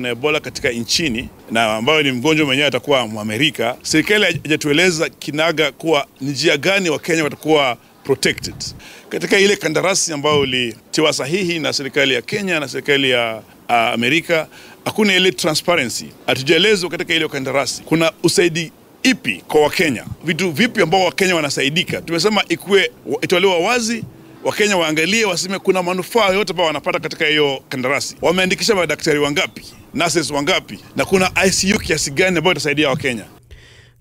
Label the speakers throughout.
Speaker 1: Na Ebola katika nchini na ambayo ni mgonjwa mwenyewe atakuwa Mwamerika, serikali haijatueleza kinaga kuwa ni njia gani Wakenya watakuwa protected katika ile kandarasi ambayo ilitiwa sahihi na serikali ya Kenya na serikali ya Amerika. Hakuna ile transparency, hatujaelezwa katika ile kandarasi kuna usaidi ipi kwa Wakenya, vitu vipi ambao Wakenya wanasaidika. Tumesema ikuwe itolewa wazi, Wakenya waangalie, waseme kuna manufaa yote ambao wanapata katika hiyo kandarasi. Wameandikisha madaktari wangapi, nurses wangapi, na kuna ICU kiasi gani ambayo itasaidia Wakenya.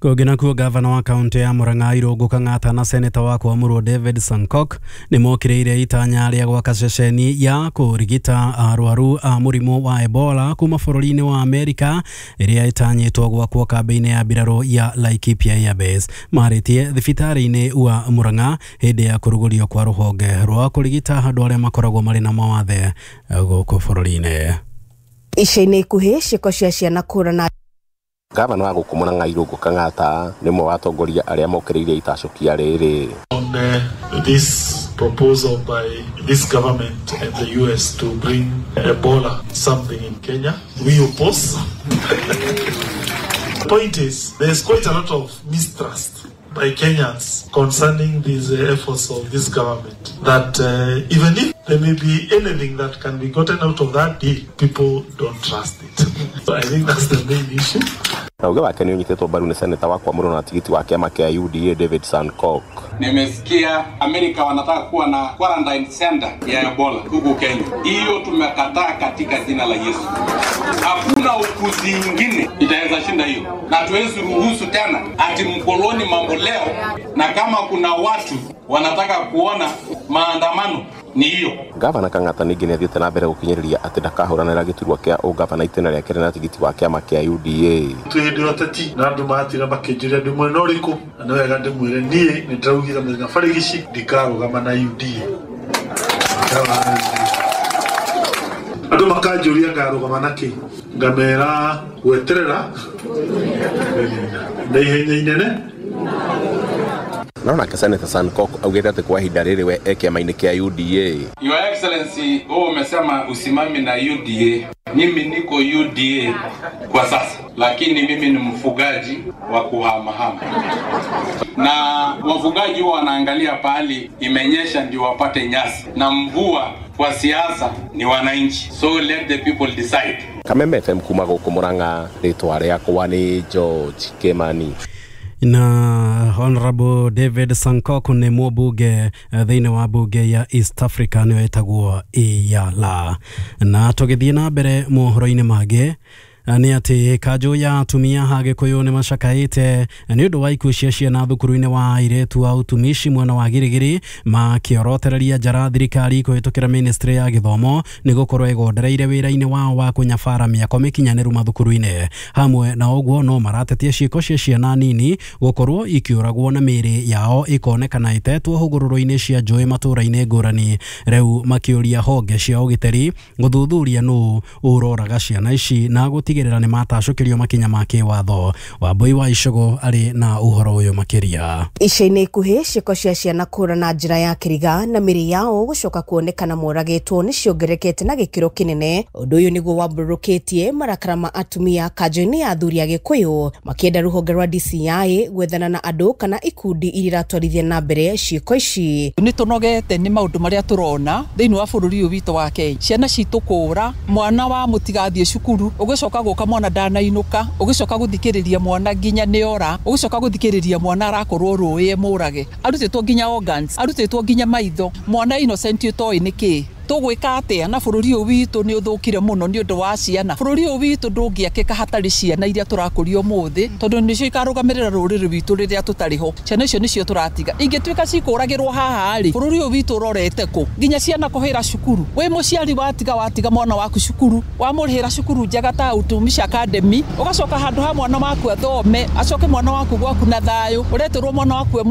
Speaker 2: Kũngĩ nakuo, gavana wa kaunti ya Murang'a Irũngũ Kang'ata na seneta wa Kwamũrwo David Sankok nĩ mokĩrĩire itanya rĩa gwaka ceceni ya kũrigita arwaru a mũrimũ wa Ebola kuma bũrũri-inĩ wa Amerika ĩrĩa ĩtanyĩtwo gwakwo kambĩ-inĩ ya mbirarũ ya Laikipia Air Base. Marĩtie thibitarĩ-inĩ wa Murang'a hĩndĩ ya kũrugũrio kwa rũhonge rwa kũrigita andũ arĩa makoragwo marĩ na mawathe gũkũ bũrũri-inĩ.
Speaker 3: Ica-inĩ ikuhĩ, ciĩko cia ciana kũra na
Speaker 4: Gavana wa gũkũ Murang'a Irũngũ Kang'ata nĩ ũmwe wa atongoria arĩa mokĩrĩire itacũkia rĩrĩ.
Speaker 5: On this proposal by this government and the US to bring Ebola something in Kenya, we oppose. The point is, there's quite a lot of mistrust by Kenyans concerning these efforts of this government. That even if there may be anything that can be gotten out of that deal, people don't trust it. So I think that's the main issue.
Speaker 4: Na uge wake nĩ ũnyitĩtwo mbaru nĩ seneta wa Kwamũrwo na tigiti wa kĩama kĩa UDA David Sankok.
Speaker 6: Nimesikia Amerika wanataka kuwa na quarantine center ya Ebola huku Kenya. Hiyo tumekataa katika jina la Yesu. Hakuna ukuzi ingine itaweza shinda hiyo, na tuwezi ruhusu tena ati mkoloni mambo leo, na kama kuna watu wanataka kuona maandamano ni hiyo.
Speaker 4: Gavana Kang'ata ningĩ nĩ athiĩte na mbere gũkinyĩrĩria atĩ ndakahũranĩra gĩturwa kĩa ũgavana itĩna rĩake rĩ na tigiti wa kĩama kĩa UDA.
Speaker 5: Twĩ hĩndĩ ya ũteti na andũ matira makĩnjũria ndĩ mwena ũrĩkũ, na nĩ wega ndĩmwĩre niĩ nĩ ndĩraugire mũthenya barigici ndikarũgama na UDA. Andũ makanjũria ngarũgama na kĩ, ngamera gweterera na ihenya inene.
Speaker 4: No nake Senator Sankok augĩte atĩ kwa ihinda rĩrĩ we e kĩama-inĩ kĩa UDA.
Speaker 6: Your Excellency, wewe umesema usimame na UDA. Mimi niko UDA kwa sasa, lakini mimi ni mfugaji wa kuhamahama, na wafugaji huwa wanaangalia pahali imenyesha ndio wapate nyasi, na mvua kwa siasa ni wananchi, so let the people decide.
Speaker 4: Kameme FM kuma gũkũ Murang'a, rĩtwa rĩakwa nĩ George Kimani.
Speaker 2: Na Honorable David Sankok nĩ mũmbunge thĩinĩ wa bunge ya East Africa, nĩyo ĩtagwo EALA. Na tũgĩthiĩ na mbere mohoro-inĩ mangĩ nĩ atĩ kanjũ ya atumia ha Gĩkũyũ nĩ macakaĩte nĩ ũndũ wa ikuũ cia ciana thukuru-inĩ wa airĩtu wa utumishi mwena wa Girigiri, makĩorotereria njara thirikari kũhĩtũkĩra ministry ya gĩthomo nĩ gũkorwo ĩgondereire wĩra-inĩ wao wa kũnyabara mĩako mĩkinyanĩru mathukuru-inĩ. Hamwe na ũguo, no maratetia ciĩko cia ciana nini gũkorwo ikĩũragwo na mĩĩrĩ yao ĩkonekana ĩtetwo hũgũrũrũ-inĩ cia njũĩ matũũra-inĩ ngũrani, rĩu makĩũria honge cia ũgitĩri gũthuthuria nũ ũroraga ciana ici na gũtigĩrĩra nĩ matacũkĩrio makinya ma kĩwatho. Wambui wa Icũgũ arĩ na ũhoro ũyũ makĩria.
Speaker 3: Ica-inĩ ikuhĩ, ciĩko cia ciana kũra na njĩra ya kĩriga na mĩrĩ yao gũcoka kuonekana moragĩtwo nĩ ciongererekete na gĩkĩro kĩnene. Ũndũ ũyũ nĩguo wambũrũkĩtie marakara ma atumia kanjũ-inĩ ya athuri a Gĩkũyũ, makĩenda rũhonge rwa DCI gwethana na andũ kana ikundi iria iratwarithia na mbere ciĩko ici.
Speaker 7: Nĩ tũnogete nĩ maũndũ marĩa tũrona thĩinĩ wa bũrũri ũyũ witũ wa Kenya, ciana citũ kũra, mwana wa mũtigathiĩ cukuru, ũgĩcoka gũka mwana ndanainũka, ũgĩcoka gũthikĩrĩria mwana nginya nĩ ora, ũgĩcoka gũthikĩrĩria mwana arakorwo rũĩ mũrage, arutĩtwo nginya organs, arutĩtwo nginya maitho, mwana innocent ũtoĩ nĩ kĩ. Tũgwĩka atĩa na bũrũri ũyũ witũ nĩ ũthũkire mũno nĩ ũndũ wa ciana. Bũrũri ũyũ witũ ndũngĩakĩka hatarĩ ciana iria tũrakũria ũmũthĩ, tondũ nĩcio ikarũgamĩrĩra rũrĩrĩ rwitũ rĩrĩa tũtarĩ ho. Ciana icio nĩcio tũratiga, ingĩtuĩka cikũragĩrwo haha rĩ, bũrũri ũyũ witũ ũrorete kũ? Nginya ciana kũhĩra cukuru, wĩ mũciari watiga mwana waku cukuru, wamũrĩhĩra cukuru njega ta Utumishi Academy, ũgacoka handũ ha mwana waku athome, acoke mwana waku gwaku na thayũ, ũretĩrwo mwana waku e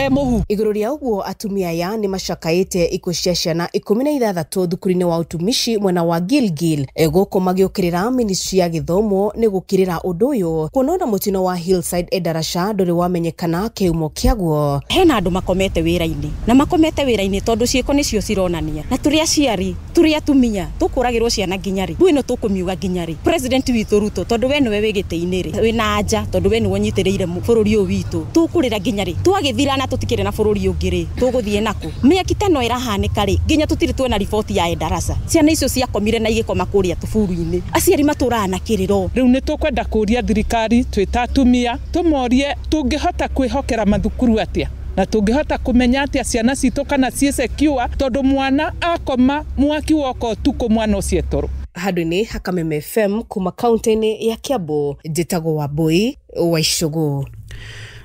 Speaker 7: mũhu.
Speaker 3: Igũrũ rĩa ũguo, atumia aya nĩ macakaĩte ikuũ cia ciana 16. ithatũ thukuru-inĩ wa ũtumishi mwena wa Gilgil gũkũ magĩũkĩrĩra ministry ya gĩthomo nĩ gũkĩrĩra ũndũ ũyũ kuona ona mũtino wa Hillside Endarasha ndũrĩ wamenyekana kĩhumo kĩaguo.
Speaker 8: Hena andũ makomete wĩra-inĩ na makomete wĩra-inĩ tondũ ciĩko nĩcio cironania na tũrĩ aciari tũrĩ atumia tũkũragĩrwo ciana nginya rĩ mbui ĩno tũkũmiuga nginya rĩ. President witũ Ruto tondũ we nĩwe wĩ gĩtĩ-inĩ rĩ wĩna anja tondũ we nĩwe ũnyitĩrĩire bũrũri ũyũ witũ tũkũrĩra nginya rĩ twagĩthira na tũtikĩrĩ na bũrũri ũngĩ rĩ tũgũthiĩ nakũ mĩaki ta ĩno ĩrahanĩka rĩ nginya tũtirĩ tuona riboti ya Endarasha. Ciana icio ciakomire na igĩkoma kũrĩa tũburu-inĩ aciari matũraga na kĩrĩro.
Speaker 7: Rĩu nĩ tũkwenda kũria thirikari twĩ ta atumia tũmorie tũngĩhota kwĩhokera mathukuru atĩa na tũngĩhota kũmenya atĩa ciana citũ kana ciĩ secure tondũ mwana akoma mwaki woka ũtukũ mwana ũcio etoro.
Speaker 3: Handũ-inĩ ha Kameme FM kuma kaunti-inĩ ya Kiambu njĩtagwo Wambui wa Icũgũ.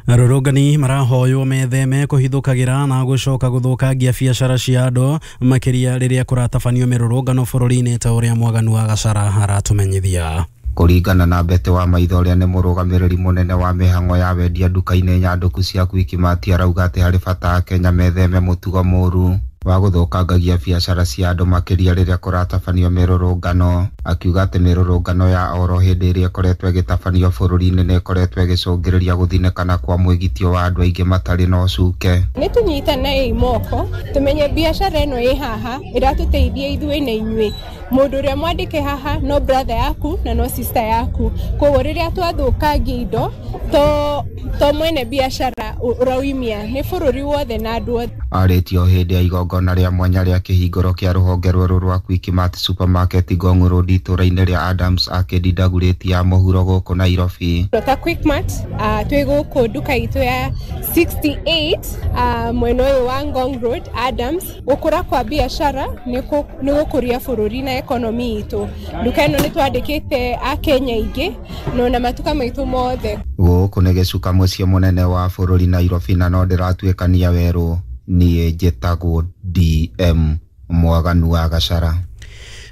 Speaker 2: Arũrũngani marahoywo metheme kũhithũkagĩra na gũcoka gũthũkangia biacara cia andũ makĩria rĩrĩa kũratabanio mĩrũrũngano bũrũri-inĩ ta ũrĩa Mwaganu wa Gacara aratũmenyithia.
Speaker 9: Kũringana na Mbete wa Maitho ũrĩa nĩ mũrũgamĩrĩri mũnene wa mĩhang'o ya wendia nduka-inĩ nyandũku cia Quickmart arauga atĩ harĩ bata Akenya metheme mũtugo mũru wa gũthũkangagia biacara cia andũ makĩria rĩrĩa kũratabanio mĩrũrũngano. Akiuga atĩ mĩrũrũngano ya oro hĩndĩ ĩrĩa ĩkoretwo ĩgĩtabanio bũrũri-inĩ nĩ ĩkoretwo ĩgĩcũngĩrĩria gũthinĩkana kwa mwĩgitio wa andũ aingĩ matarĩ na ũcuke.
Speaker 10: Nĩ tũnyitanei moko tũmenye biacara ĩno ĩ haha ĩratũteithia ithuĩ na inyuĩ. Mũndũ ũrĩa mwandĩke haha no brother yaku na no sister yaku, koguo rĩrĩa twathũkangia indo to mwene biacara ũrauimia nĩ bũrũri wothe na andũ othe.
Speaker 9: Arĩtio hĩndĩ ya igongona rĩa mwanya rĩa kĩhingũro kĩa rũhonge rwerũ rwa Quickmart supermarket Ngong Road itũũra-inĩ rĩa Adams Arcade Dagoretti ya mũhuro gũkũ Nairobi.
Speaker 10: Ta Quickmart twĩ gũkũ nduka itũ ya 68 mwena ũyũ wa Ngong Road Adams. Gũkũra kwa biacara nĩ gũkũria bũrũri na ekonomi itũ. Nduka ĩno nĩ twandĩkĩte Akenya aingĩ no na matuka maitũ mothe.
Speaker 9: Gũkũ nĩ gĩcuka mũciĩ mũnene wa bũrũri Nairobi na no ndĩratuĩkania werũ. Niĩ njĩtagwo DM Mwaganu wa Gacara.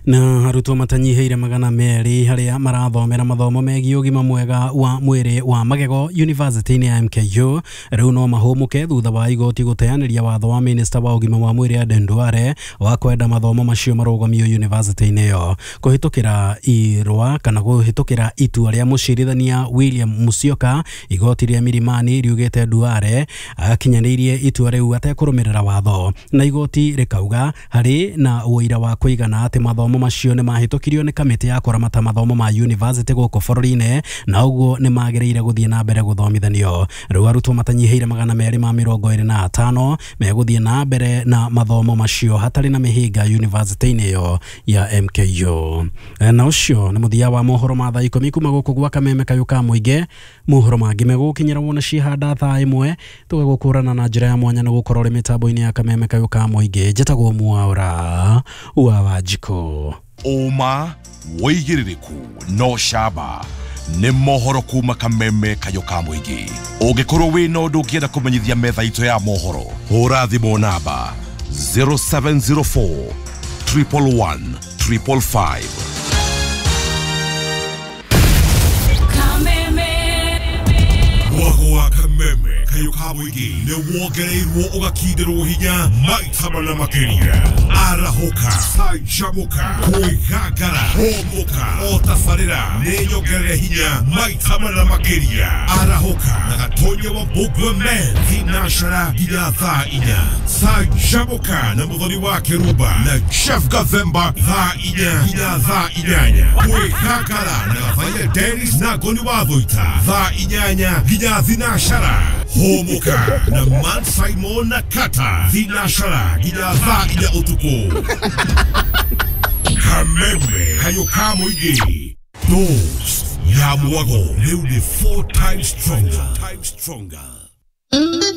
Speaker 2: Na arutwo matanyihĩire 200 harĩa marathomera mathomo megiĩ ũgima mwega wa mwĩrĩ wa magego university-inĩ ya MKU rĩu no mahũmũke thutha wa igoti gũteanĩria watho wa minista wa ũgima wa mwĩrĩ Aden Duale wa kwenda mathomo macio marũgamio university-inĩ ĩyo kũhĩtũkĩra irũa kana kũhĩtũkĩra itua rĩa mũcirithania William Musyoka. Igoti rĩa Milimani riugĩte Duale akinyanĩirie itua rĩu atekũrũmĩrĩra watho na igoti rĩkauga harĩ na ũira wa kũigana atĩ mathomo macio nĩ mahĩtũkirio nĩ kamĩtĩ ya kũramata mathomo ma university gũkũ bũrũri-inĩ na ũguo nĩ magĩrĩire gũthiĩ na mbere gũthomithanio. Rĩu arutwo matanyihĩire 225 megũthiĩ na mbere na mathomo macio hatarĩ na mĩhĩnga university-inĩ ĩyo ya MKU. Na ũcio nĩ mũthia wa mohoro ma thaa 10 kuma gũkũ gwa Kameme kayũ ka mũingĩ. Mohoro mangĩ megũkinyĩra wona cihanda thaa 1 tũgagũkũrana na njĩra ya mwanya na gũkorwo ũrĩ mĩtambo-inĩ ya Kameme kayũ ka mũingĩ. Njĩtagwo Mwaura wa Wanjikũ.
Speaker 11: Ũma wĩigĩrĩrĩku no camba nĩ mohoro kuma Kameme kayũ ka mũingĩ. Ũngĩkorwo wĩna ũndũ ũngĩenda kũmenyithia metha itũ ya mohoro, hũra thimũ namba 0704 111 555. Mwago wa Kameme kayũ ka mũingĩ nĩ wongereirwo ũgakindĩrwo hinya maita mana makĩria. Arahũka, canjamũka, kwĩgangara, hũmũka, o tabarĩra nĩ nyongerere hinya maita mana makĩria. Arahũka na Gatonya wa Mbũgua Men thinacara nginya thaa 4. Canjamũka na Mũthoni wa Kĩrumba na Chef Gathemba thaa 4 nginya thaa 8. Kwĩgangara na Gathaiya Dennis na Ngoni wa Thũita thaa 8 nginya thinacara. Hũmũka na Man Simon na Kata thinacara nginya thaa 4 ũtukũ. Kameme kayũ ka mũingĩ. Dose ya mwago rĩu nĩ 4 times stronger.